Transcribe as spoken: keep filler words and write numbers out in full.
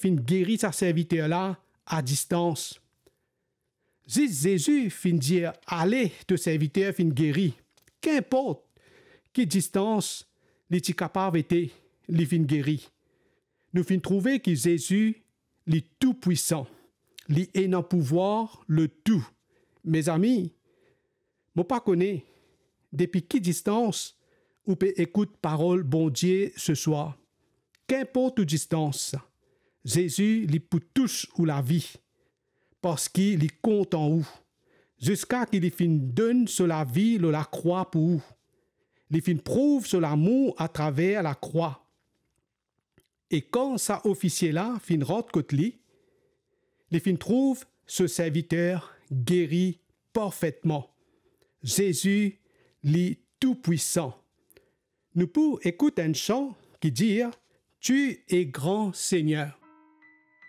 finn geri sa serviter la a distans. Zis Zezi finn dir, "Ale, to serviter finn geri." Kinport ki distans li ti kapav ete, li finn geri. Nou finn trouve ki Zezi, li toupwisan, li ena pouvwar lor tou. Mezami, mo pa kone depi ki distans ou pe ekout parol Bondie seswar. Kinport to distans, Zezi, li pou tous ou lavi, parski li kontan ou, ziska ki li finn donn so lavi lor lakrwa pou ou. Li finn prouv so lamour atraver lakrwa. E kan sa ofisie la finn rant kot li, li finn trouv so serviter geri parfetman. Zezi, li toupwisan. Nou pou ekout enn san ki dir, "Tu es grand, Seigneur."